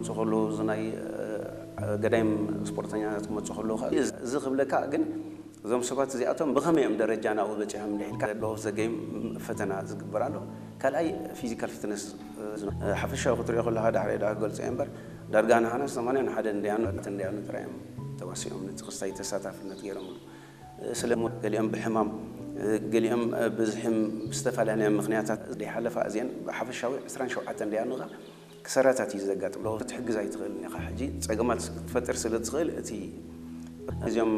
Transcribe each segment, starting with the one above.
ክመፁ ከለዉ፣ እዚ ናይ ገዳይም ስፖርተኛታት ክመፁ ከለዉ፣ እዚ ክብለካ ግን እዞም ሰባት እዚኣቶም ብኸመይ እዮም ደረጃ ናብኡ በፂሖም እንድሕልካ ዘሎ ዘገይም ፈተና ዝግበር ኣሎ። ካልኣይ ፊዚካል ፊትነስ፣ ሓፈሻዊ ክትሪኦ ከለካ፣ ዳሕረይ ዳ ክገልፆ እየ እምበር፣ ዳርጋ ንሓና ሰማንያ ንሓደ እንድያኑ እንድያኑ ጥራይ እዮም ተዋሲኦም ነቲ ክስታይ ተሳታፍነት ገይሮምሉ። ስለ ገሊኦም ብሕማም፣ ገሊኦም ብዝሕም ብዝተፈላለየ ምክንያታት ዘይሓለፋ እዚአን ብሓፈሻዊ ዕስራን ሸውዓተን እንድያኑ ክሰራታት እዩ ዘጋጥም። ክትሕግዝ ኣይትኽእልን ኢኻ። ሕጂ ጸገማት ክትፈጥር ስለ ትኽእል እቲ እዚኦም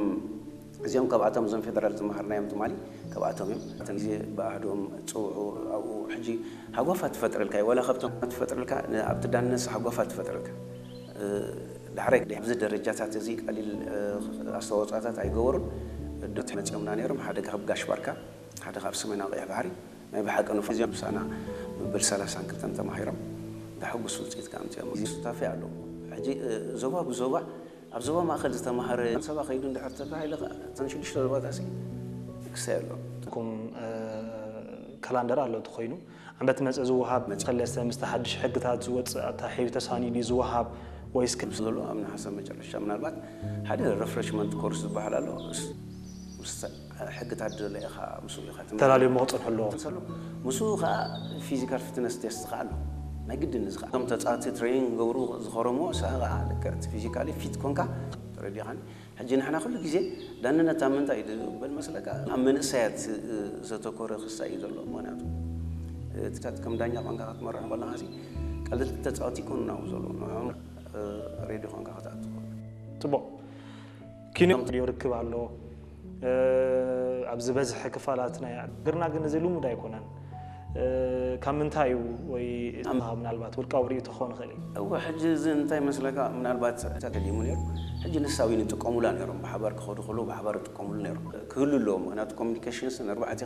እዚኦም ካብኣቶም እዞም ፌደራል ዝመሃርናዮም ትማሊ ካብኣቶም እዮም። እቲ ግዜ ብኣህዶም ጽውዑ ኣብኡ ሕጂ ሃጓፋት ትፈጥረልካ እዩ። ዋላ ካብቶም ትፈጥረልካ ን-፣ ኣብቲ ዳነስ ሃጓፋት ትፈጥረልካ። እ፣ ዳሕራይ ኣብዚ ደረጃታት እዚ ቀሊል፣ እ፣ ኣስተዋጽኦታት ኣይገበሩን። ዶት መጺኦምና ነይሮም። ሓደ ካብ ጋሽ ባርካ፣ ሓደ ካብ ሰሜናዊ ቀይሕ ባሕሪ። ናይ ብሓቂ ንፉዕ እዮም። ምሳና መበል ሰላሳን ክልተን ተማሂሮም ዘሐጉስ ውጽኢት ከኣ ኣምጺኦም። እዚ ሱታፌ ኣሎ። ሕጂ፣ እ፣ ዞባ ብዞባ፣ ኣብ ዞባ ማእከል ዝተማህረ ሰባ ከይዱ እንድሕር ተባሂለ ከኣ፣ እተን ሽዱሽተ ዞባታሲ ክስታይ ኣሎ። ኩም፣ እ፣ ካላንደር ኣሎ እቲ ኮይኑ፣ ዓመት መጸ ዝወሃብ፣ መጸ- ሰለስተ ምስቲ ሓድሽ ሕግታት ዝወጽእ ኣታሒዙ ተሳኒዱ ዝወሃብ ወይስ ክ- ምስ ዘሎ ኣብ ነሓሰ መጨረሻ ምናልባት ሓደ ሪፍሬሽመንት ኮርስ ዝበሃል ኣሎ። እስ-፣ ምስ ሕግታት ዝደለ ኢኻ ምስኡ ኢኻ ትምህርቲ ተላልዮሞ ክጸንሑ ኣለዎ። ትንሰሉ። ምስኡ ኸኣ ፊዚካል ፊትነስ ቴስት ኸኣ ኣሎ። ናይ ግድን እዚ ኸኣ እቶም ተጻወትቲ ትሬኒንግ ክገብሩ ዝኸረምዎ፣ ንስኻ ኸኣ ልክዕ እቲ ፊዚካሊ ፊት ኮንካ ተረዲኻኒ። ሕጂ ንሕና ኩሉ ግዜ ዳንነት ኣብ ምንታይ እዩ ዝበል መስለካ? ኣብ መንእሰያት ዘተኮረ ክስታይ እዩ ዘሎ። ምኽንያቱ፣ እትታት ከም ዳኛ ቋንቋ ክትመርሕ ከለኻሲ ቀለልቲ ተጻወቲ ይኮኑ ናብኡ ዘለዉ። ንዕኦም፣ እ፣ ሬዲ ኾንካ ክትኣቱ ትኽእል። ጽቡቕ። ኪኖ ሪዮ ርክብ ኣሎ። እ፣ ኣብ ዝበዝሐ ክፋላት ናይ ሃገርና ግን እዚ ልሙድ ኣይኮነን። እ፣ ካብ ምንታይ እዩ ወይ እቲ ምናልባት ውልቃዊ ርእይቶ ክኸውን ይኽእል እዩ? እወ፣ ሕጂ እዚ እንታይ መስለካ፣ ምናልባት ተደሊሙ ነይሩ። ሕጂ ንሳዊ ንጥቀሙላ ነይሮም፣ ብሓባር ክኸዱ ከለዉ ብሓባር ይጥቀሙሉ ነይሮም። ክህሉ ኣለዎ፣ ምኽንያቱ ኮሚኒኬሽንስ ንኣርባዕተ